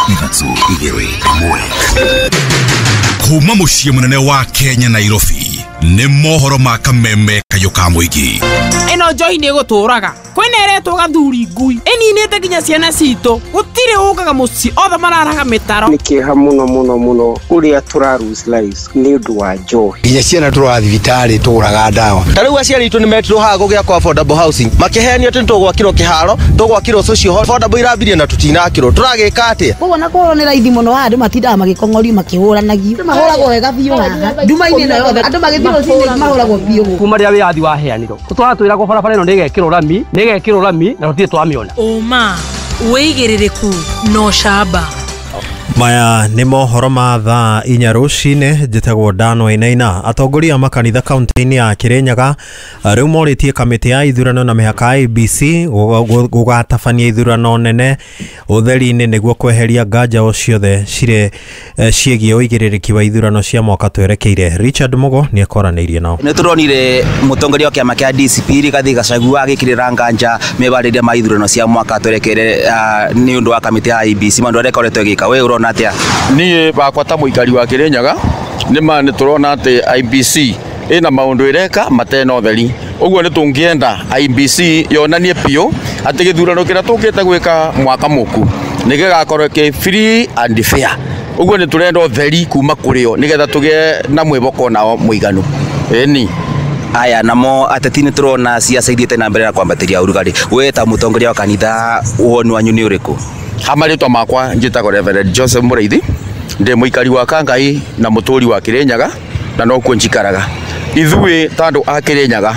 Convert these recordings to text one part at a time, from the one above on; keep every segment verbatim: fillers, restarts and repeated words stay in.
Ithatũ igĩrĩ ĩmwe. Kuma mũciĩ mũnene wa Kenya, Nairobi, nĩ mohoro ma kameme kayũ ka mũingĩ. Ĩno njohi nĩ ĩgũtũraga. Kwĩna ĩretwo gathuri ngui ĩninĩte nginya ciana citũ. Gũtirĩ ũkaga mũciĩ, othe mararaga mĩtaro. Nĩ kĩeha mũno mũno mũno ũrĩa tũra lose lives nĩ ũndũ wa njohi. Nginya ciana tũraga thibitarĩ tũgũraga ndawa. Ta rĩu aciari aitũ nĩ metirwo haha gũgĩakwo affordable housing, makĩheanio atĩ nĩtũgwakĩrwo kĩharo, tũgwakĩrwo social hall affordable, irambirie na tũtinakĩrwo. Tũragĩka atĩa? Koguo na kũhũrwo nĩ raithi mũno haha, andũ matindaga magĩkong'orio makĩhũranagio. Mahũragwo wega biũ haha nduma-inĩ ĩno yothe, andũ magĩthiĩ rũcinĩ mahũragwo biũ gũkũ. Kuma rĩrĩa wĩyathi waheanirwo tũtwara twĩragwo barabara ĩno nĩĩgekĩrwo rami, nĩĩgekĩrwo rami, na tũtirĩ twamĩona. Ũma, wĩigĩrĩrĩku na ũcamba. Maya nĩ mohoro ma thaa inya rũcinĩ. Njĩtagwo Dan Wainaina. Atongoria a makanitha kaunti-inĩ ya Kirinyaga rĩu morĩtie kamĩtĩ ya ithurano na mĩhaka I E B C gũgatabania ithurano nene ũtheri-inĩ nĩguo kweheria nganja o ciothe cirĩ ciĩgiĩ ũigĩrĩrĩki wa ithurano cia mwaka twerekeire. Richard Mugo nĩ ekoranĩirie nao. Nĩ tũronire mũtongoria wa kĩama kĩa D C P Rigathi Gachagua agĩkĩrĩra nganja mebarĩria ma ithurano cia mwaka twerekeire nĩ ũndũ wa kamĩtĩ ya I E B C, maũndũ arĩa ĩkoretwo ĩgĩka. We ũrona atĩa? Niĩ bakwa ta mũikari wa Kirinyaga, nĩ ma nĩ tũrona atĩ I E B C ĩna maũndũ ĩreka matena ũtheri. Ũguo nĩ tũngĩenda I E B C yonanie biũ atĩ gĩthurano kĩrĩa tũkĩte gwĩka mwaka mũku nĩ gĩgakorwo kĩ free and fair. Ũguo nĩ tũrenda ũtheri kuma kũrĩ o nĩgetha tũgĩe na mwĩhoko nao mũiganu. Ĩni. Aya namo ateti, nĩ tũrona ciaca ithiĩte na mbere na kwambatĩria ũrugarĩ. We ta mũtongoria wa kanitha, woni wanyu nĩ ũrĩkũ? Ha marĩtwa makwa njĩtagwo Reverend Joseph Mũraithi, ndĩ mũikari wa Kangai na mũtũri wa Kirinyaga, na nokuo njikaraga. Ithuĩ ta andũ a Kirinyaga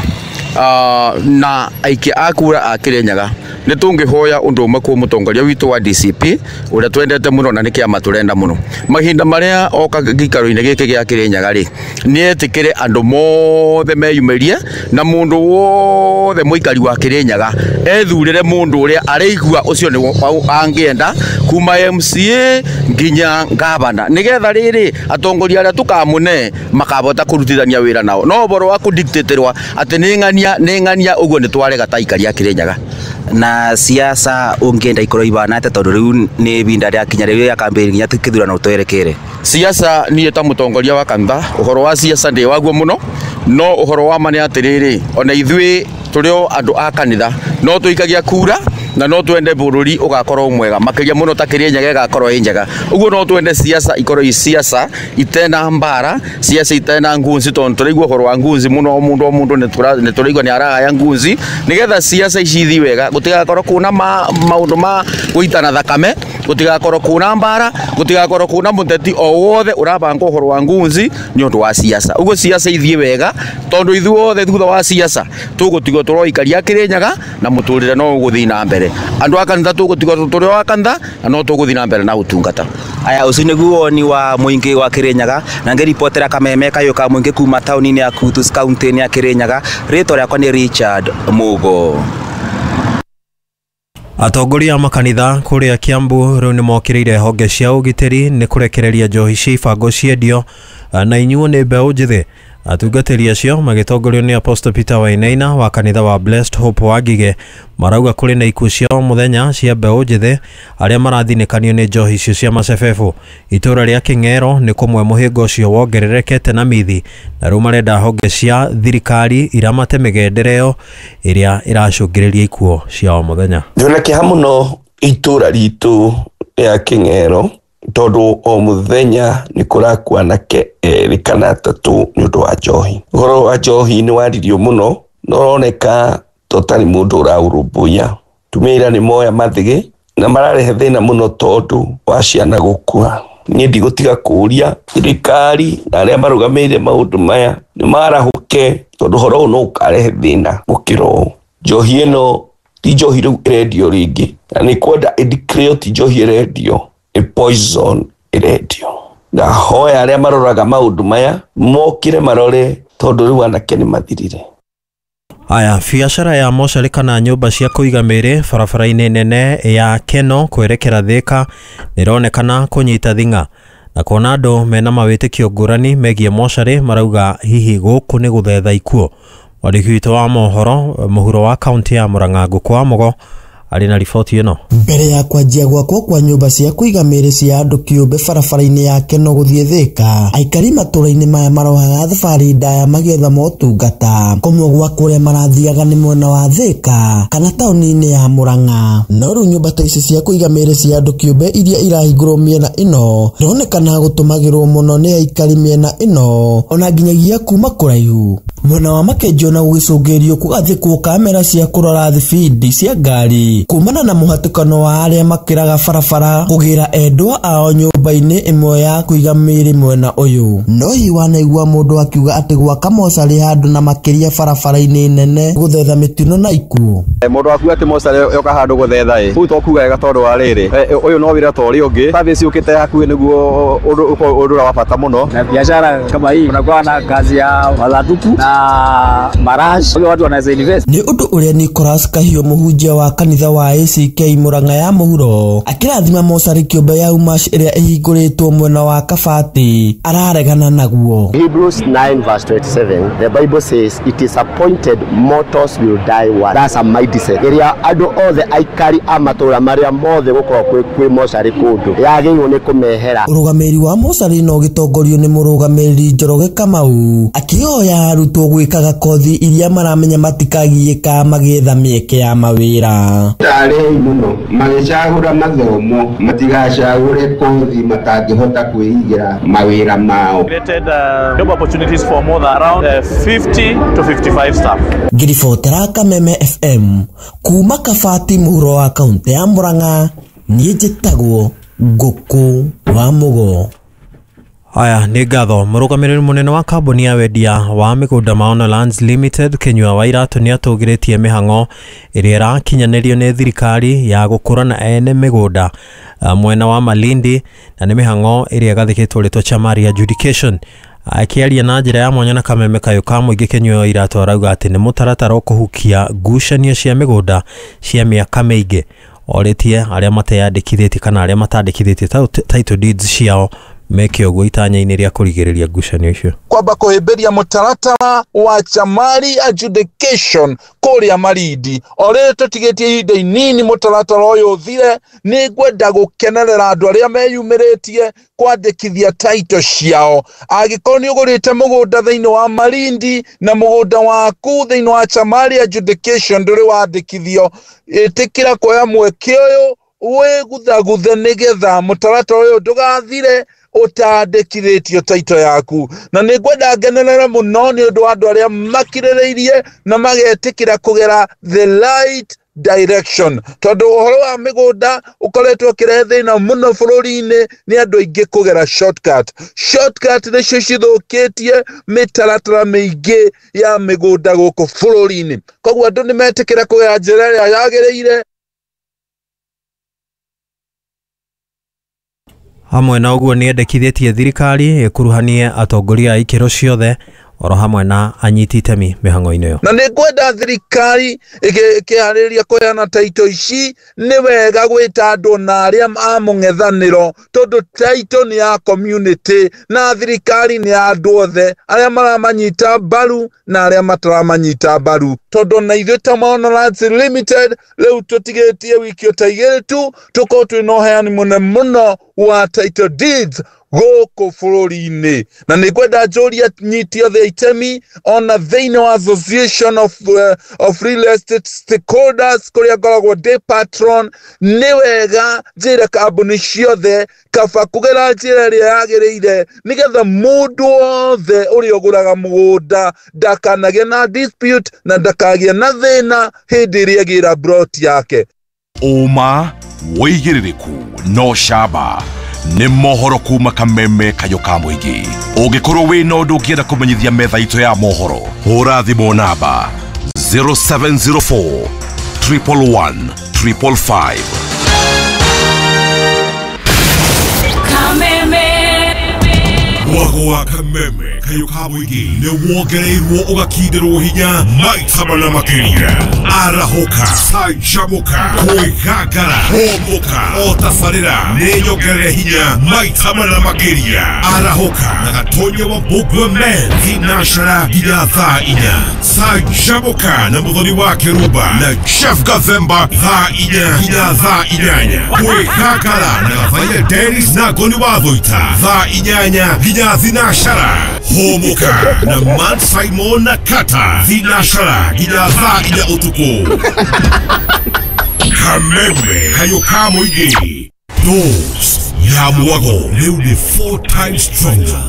uh, na aikia a kura a Kirinyaga, nĩ tũngĩhoya ũndũ ũmwe kwĩ mũtongoria witũ wa D C P ũrĩa twendete mũno na nĩ kĩama tũrenda mũno. Mahinda marĩa oka gĩikaro-inĩ gĩkĩ gĩa Kirinyaga rĩ, nĩ etĩkĩre andũ mothe meyumĩrie na mũndũ wothe mũikari wa Kirinyaga ethurĩre mũndũ ũrĩa areigua ũcio nĩ angĩenda, kuma M C A nginya gavana, nĩgetha rĩrĩ atongoria arĩa tũkamũne makabota kũrutithania wĩra nao. No ũhoro wa kũdictatĩrwo atĩ nĩ ng'ania nĩ ng'ania, ũguo nĩ twarega ta aikari a Kirinyaga. Na siasa ũngĩenda ikorwo ibana atĩa, tondũ rĩu nĩ ibinda rĩakinya rĩu rĩa campaign nginya kĩthurano twerekeire? Siasa, niĩ ta mũtongoria wa kanitha, ũhoro wa siasa ndĩ waguo mũno, no ũhoro wa ma nĩ atĩrĩrĩ, ona ithuĩ tũrĩ o andũ a kanitha no tũikagia kura na no twende bũrũri ũgakorwo mwega makĩria mũno, ta Kirinyaga ĩgakorwo ĩ njega. Ũguo no twende siasa ikorwo i siasa itena mbara, siasa itena ngunzi, tondũ tũraigua ũhoro wa ngunzi mũno. O mũndũ o mũndũ nĩ tũraigua nĩ aragaya ngunzi. Nĩgetha siasa ici ithiĩ wega, gũtigakorwo kuna maũndũ ma gũitana thakame, gũtigakorwo kuna mbara, gũtigakorwo kuna mũteti o wothe ũrabanga ũhoro wa ngunzi nĩ ũndũ wa siasa. Ũguo siasa ithiĩ wega, tondũ ithuothe thutha wa siasa tũgũtigwo tũrĩ aikari a Kirinyaga na mũtũrĩre no ũgũthiĩ na mbere. Andũ a kanitha tũgũtigwo tũrĩ o a kanitha na no tũgũthiĩ na mbere na ũtungata. Aya, ũcio nĩguo woni wa mũingĩ wa Kirinyaga, na ngĩribotera kameme kayũ ka mũingĩ kuma taũni-inĩ ya Kutus, kaunti-inĩ ya Kirinyaga, rĩtwa rĩakwa nĩ Richard Mugo. Atongoria a makanitha kũrĩa Kiambu rĩu nĩ mokĩrĩire honge cia ũgitĩri nĩ kũrekereria njohi cia ibango ciendio na inyuo nĩ mbeũ njĩthĩ. Atungatĩri acio magĩtongorio nĩ Apostle Peter Wainaina wa kanitha wa Blessed Hope wa Ngigĩ marauga kũrĩ na ikuũ cia o mũthenya cia mbeũ njĩthĩ arĩa marathinĩkanio nĩ njohi icio cia macebebũ. Itũũra rĩa Kĩng'ero nĩ kũmwe mũhĩnga ũcio wongererekete na mithi, na rĩu marenda honge cia thirikari iramate mĩgendere ĩyo ĩrĩa ĩracũngĩrĩria ikuũ cia o mũthenya. Ndĩna kĩeha mũno itũra ritũ rĩa Kĩng'ero, tondũ o mũthenya nĩ kũrakua anake erĩ kana atatũ nĩ ũndũ wa njohi. Ũhoro wa njohi nĩ waririo mũno na ũroneka ta ũtarĩ mũndũ ũraũrũmbũiya. Tumia ira nĩ moya mathĩgĩ na mararehe thĩna mũno tondũ wa ciana gũkua. Niĩ ndigũtiga kũũria thirikari na arĩa marũgamĩrĩire maũndũ maya nĩ marahũke, tondũ ũhoro ũyũ no ũkarehe thĩna gũkĩra ũũ. Njohi ĩno ti njohi rĩu ĩrendio rĩngĩ, na nĩ kwenda ĩdeclare ti njohi ĩrendio, nĩ poison ĩrendio. Ndahoya arĩa maroraga maũndũ maya mokĩre marore, tondũ rĩu anake nĩ mathirire. Aya, biacara ya mocarĩ kana nyũmba cia kũiga mĩĩrĩ barabara-inĩ nene ya Keno kwerekera Thĩka nĩronekana kũnyita thing'a, na kuona andũ mena mawĩtĩkio ngũrani megiĩ mocarĩ marauga hihi gũkũ nĩ gũthetha ikuũ. Mwandĩki witũ wa mohoro mũhuro wa kaunti ya Murang'a, Ngũkũ wa Mũgo, Arĩ na riboti ĩno. Mbere ya kwanjia gwakwo kwa nyũmba cia kũiga mĩĩrĩ cia andũ kĩũmbe barabara-inĩ ya Keno gũthiĩ Thĩka, aikari matũũra-inĩ maya marohaga thabarĩ ndaya magĩetha motungata. Kũmwe gwa kũrĩa marathiaga nĩ mwena wa Thĩka kana taũni-inĩ ya Murang'a. No rĩu nyũmba ta ici cia kũiga mĩĩrĩ cia andũ kĩũmbe iria irahingũrwo mĩena ĩno ironekana gũtũmagĩrwo mũno nĩ aikari mĩena ĩno ona nginyagia kuma kũraihu. Mwena wa Makenjo na gũgĩcũngĩrĩrio kũgathĩkwo kamera cia kũrora thibindi cia ngari kumana na mũhatĩkano wa arĩa makĩraga barabara kũgĩra endwa ao nyũmba-inĩ ĩmwe ya kũiga mĩĩrĩ mwena ũyũ. No hihi wanaigua mũndũ akiuga atĩ gwaka mocarĩ handũ na makĩria barabara-inĩ nene gũthetha mĩtino na ikuũ? Mũndũ akuga atĩ mocarĩ yoka handũ gũthetha ĩ kũu to kuga wega tondũ wa rĩrĩ ũyũ no wĩra ta ũrĩa ũngĩ, service yũkĩte hakuhĩ nĩguo ũndũ ũrĩa wa bata mũno. Na biashara kama hii unakuwa na kazi ya mathanduku na marash, watu wanaweza invest. Nĩ ũndũ ũrĩa Nicholas Kahiũ mũhunjia wa kanitha wa A C K Murang'a ya mũhuro akĩrathima mocarĩ kĩũmbe ya Umash ĩrĩa ĩhingũrĩtwo mwena wa Kabati araregana naguo. Hebrews nine verse twenty-seven, the Bible says it is appointed mortals will die once. That's a mindset. Ĩrĩa andũ othe aikari a matũũra marĩa mothe gũkorwo kwĩ kwĩ mocarĩ kũndũ yagĩrĩirwo nĩ kũmehera. Ũrũgamĩrĩri wa mocarĩ no ũgĩtongorio nĩ mũrũgamĩrĩri Njoroge Kamau akĩhoya arutwo gwĩkaga kothi iria maramenya matikagiĩka magĩetha mĩeke ya mawĩra. Tarĩi mũno magĩcagũra mathomo matigacagũre kothi matangĩhota kwĩigĩra mawĩra mao. Created uh, job opportunities for more than around uh, fifty to fifty-five staff. Ngiribotera Kameme F M kuma Kabati mũhuro wa kaunti ya Murang'a, niĩ njĩtagwo Ngũkũ wa Mũgo. Haya nĩ ngatho. Mũrũgamĩrĩri mũnene wa kambuni ya wendia wa mĩgũnda Maono Lands Limited Kinyua wa Iratũ nĩ atũgĩrĩtie mĩhang'o ĩrĩa ĩrakinyanĩrio nĩ thirikari ya gũkũrana ene mĩgũnda mwena wa Malindi, na nĩ mĩhang'o ĩrĩa ĩgathĩkĩtwo rĩtwa Chamari Adjudication. Akĩaria na njĩra ya mwanya na kameme kayũ ka mũingĩ, Kinyua wa Iratũ arauga atĩ nĩ mũtaratara ũkũhukia ngucanio cia mĩgũnda cia mĩaka mĩingĩ. Orĩtie arĩa mateyandĩkithĩtie kana arĩa matandĩkithĩtie title deeds ciao meke ũguo itanya-inĩ rĩa kũrigĩrĩria ngucanio icio. Kwamba kũhĩmbĩria mũtaratara wa Chamari Adjudication kũrĩa Malindi. O rĩrĩ tũtigĩtie ihinda inini mũtaratara ũyũ ũthire, nĩ ngwenda gũkenerera andũ arĩa meyumĩrĩtie kwandĩkithia title ciao. Angĩkorwo nĩ ũgũrĩte mũgũnda thĩinĩ wa Malindi na mũgũnda waku thĩinĩ wa Chamari Adjudication ndũrĩ wandĩkithio, ĩtĩkĩra kuoya mweke ũyũ wĩguthaguthe nĩgetha mũtaratara ũyũ ndũgathire ũtandĩkithĩtio title yaku. Na nĩ ngwenda ngenerere mũno nĩ ũndũ wa andũ arĩa makirĩrĩirie na magetĩkĩra kũgera the right direction, tondũ ũhoro wa mĩgũnda ũkoretwo ũkĩrehe thĩna mũno bũrũri-inĩ nĩ andũ aingĩ kũgera shortcut. Shortcut nĩcio cithũkĩtie mĩtaratara mĩingĩ ya mĩgũnda gũkũ bũrũri-inĩ. Koguo andũ nĩ metĩkĩra kũgera njĩra ĩrĩa yagĩrĩire. Hamwe na ũguo nĩ endekithĩtie thirikari ĩkuruhanie atongoria a ikĩro ciothe oro hamwe na anyiti itemi mĩhang'o-inĩ ĩyo. Na nĩ ngwenda thirikari ĩkĩharĩrĩria kũheana title ici, nĩ wega gwĩta andũ na arĩa a mũng'ethanĩro, tondũ title nĩ ya community na thirikari nĩ ya andũ othe arĩa maramanyita mbaru na arĩa mataramanyita mbaru. Tondũ na ithuĩ ta Maono Lands Limited rĩu tũtigĩtie wiki ta igĩrĩ tu tũkorwo twĩna ũheani mũnene mũno wa title deeds gũkũ bũrũri-inĩ. Na nĩ ngwenda njũrie nyiti othe itemi ona thĩinĩ wa Association of, uh, of Real Estate Stakeholders kũrĩa ngoragwo ndĩ patron, nĩ wega njĩre kambuni ciothe kaba kũgera njĩra ĩrĩa yagĩrĩire nĩgetha mũndũ wothe ũrĩa ũgũraga mũgũnda ndakanagĩe na dispute na ndakagĩe na thĩna hĩndĩ ĩrĩa agĩra plot yake. Ũma wĩigĩrĩrĩku no camba nĩ mohoro kuma Kameme kayũ ka mũingĩ. Ũngĩkorwo wĩna ũndũ ũngĩenda kũmenyithia metha itũ ya mohoro, hũra thimũ namba zero seven zero four triple one triple five. Kameme Mwagwa Wa kameme kayo ka mũingĩ nĩ wongereirwo ũgakindĩrwo hinya maita mana makĩria. Arahũka, canjamũka, kwĩgangara, hũmũka, o tabarĩra nĩ nyongerere hinya maita mana makĩria. Arahũka na Gatonya wa Mbũngwe Men thinacara nginya thaa inya. Canjamũka na Mũthoni wa Kĩrumba na Jeff Gathemba thaa inya nginya thaa inyanya. Kwĩgangara na Gathaiya Dennis na Ngoni wa Thũita thaa inyanya nginya thinacara. Hũmũka na Man Simon na Kata thinacara nginya thaa inya ũtukũ. Kameme kayo ka mũingĩ. Dose ya mwago rĩu nĩ four times stronger.